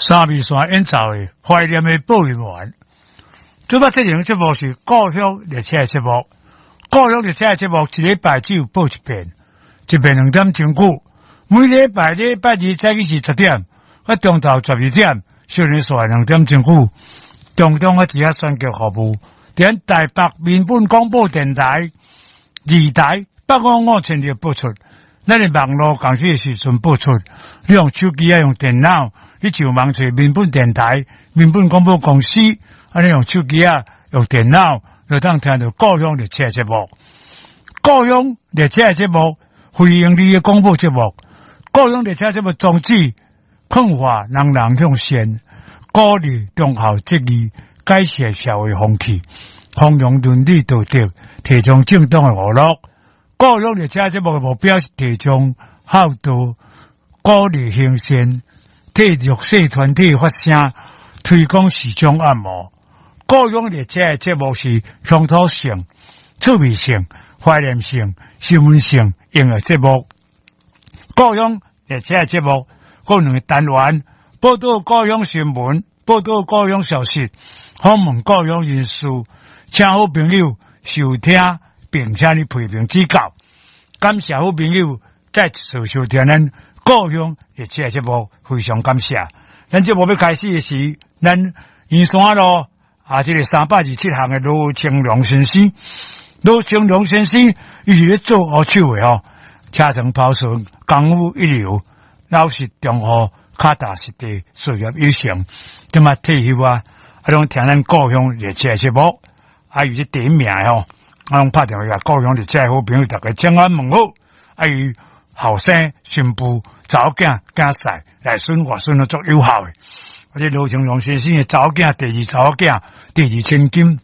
三味線演奏的懷念的播音員。這擺這種節目是故鄉列車的節目，故鄉列車的節目一禮拜只有播一遍，一遍2點鐘久。每禮拜禮拜二早起是10點，到中晝12點，小年煞2點鐘久。中中啊，佇遐選購服務，佇台北民本廣播電台二台855千赫播出。咱的網路共時的時陣播出，你用手機啊，用電腦，你上網揣民本電台、民本廣播公司，啊，你用手機啊，用電腦，就當聽著故鄉列車節目。故鄉列車節目，非營利的廣播節目。故鄉列車節目宗旨，勸化人人向善，鼓勵忠孝節義，改善社會風氣，弘揚倫理道德，提倡正當的娛樂。故鄉列車節目的目標是提倡孝道，鼓勵行善，替弱勢團體發聲，推廣時裝按摩。故鄉列車的節目是鄉土性、趣味性、懷念性、新聞性音樂節目。故鄉列車的節目有兩個單元：報導故鄉新聞、報導故鄉消息、訪問故鄉人士，請好朋友收聽，並請你批評指教。感謝好朋友再次收聽咱故鄉列車節目，非常感謝。咱節目欲開始的時，咱圓山路啊，這个327巷的羅清龍先生，羅清龍先生伊是咧做烏手的吼，車床拋筍功夫一流，老實忠厚，腳踏實地，事業有成，這馬退休啊，啊，攏聽咱故鄉列車節目，啊，伊是第一名的吼。啊，攏拍電話共故鄉列車好朋友，逐家請安問好。啊，伊後生新婦查某囝囝婿內孫外孫攏足友好的。啊，這羅清龍先生的查某囝，第二查某囝，第二千金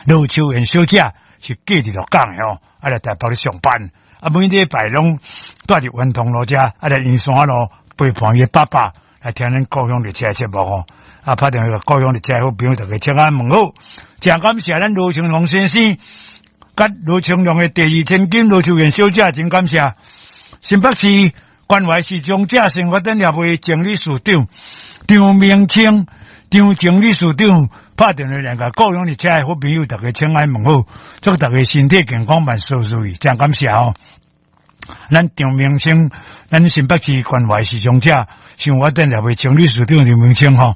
羅秋燕小姐是嫁佇鹿港的吼，啊來台北咧上班。啊，每禮拜攏蹛佇元通路遮，啊來圓山路陪伴伊爸爸來聽咱故鄉列車節目吼。啊，拍電話共故鄉列車好朋友，逐家請安問好。誠感謝咱羅清龍先生，佮羅清龍的第二千金羅秋燕小姐，真感謝。新北市關懷視障者生活展協會前理事長張明清，張前理事長拍電話來共故鄉列車的好朋友，逐家請安問好，祝逐家身體健康，萬事如意，真感謝哦。咱張明清，咱新北市關懷視障者生活展協會前理事長張明清吼，啊，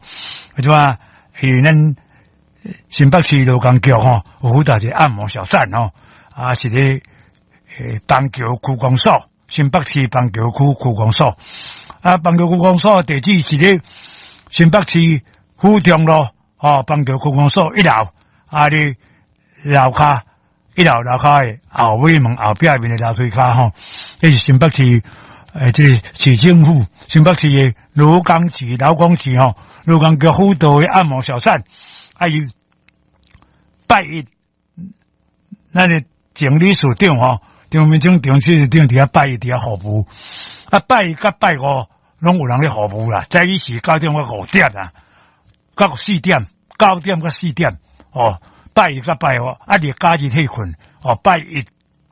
這啊是咱新北市勞工局吼，有負責一個按摩小站吼，啊是咧板橋區公所，新北市板橋區區公所，啊板橋區公所地址是咧新北市府中路，吼，板橋區公所一樓，啊咧樓跤一樓樓跤的後尾門後壁面的樓梯跤吼，這是新北市這个市政府新北市的勞工局勞工局吼，勞工局輔導的按摩小站，啊伊拜一，咱的前理事長吼，張明清張理事長佇遐拜一佇遐服務，啊拜一佮拜五攏有人咧服務啦，早起是9點到5點啊，到四點，9點到四點，哦，拜一佮拜五，啊日假日歇睏，哦，拜一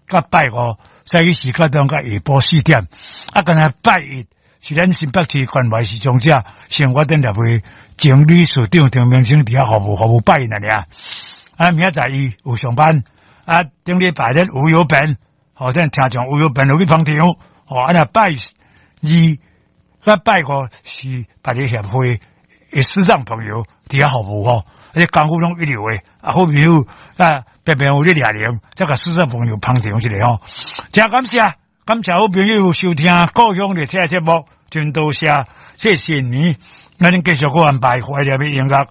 佮拜五，早起是9點到下晡4點，啊，干焦拜一是咱新北市關懷視障者生活展協會前理事長張明清佇遐服務，服務拜一爾，啊，明仔載伊有上班，啊，頂禮拜日吳有本，吼，咱聽眾吳有本有去捧場，吼，啊，若拜二、佮拜五是別个協會的視障朋友佇遐服務吼，啊，這功夫攏一流的，啊，好朋友啊，白白有咧掠零，才共視障朋友捧場一下吼，誠感謝，感謝好朋友收聽故鄉列車節目，真多謝，謝謝你，咱繼續閣安排懷念的音樂。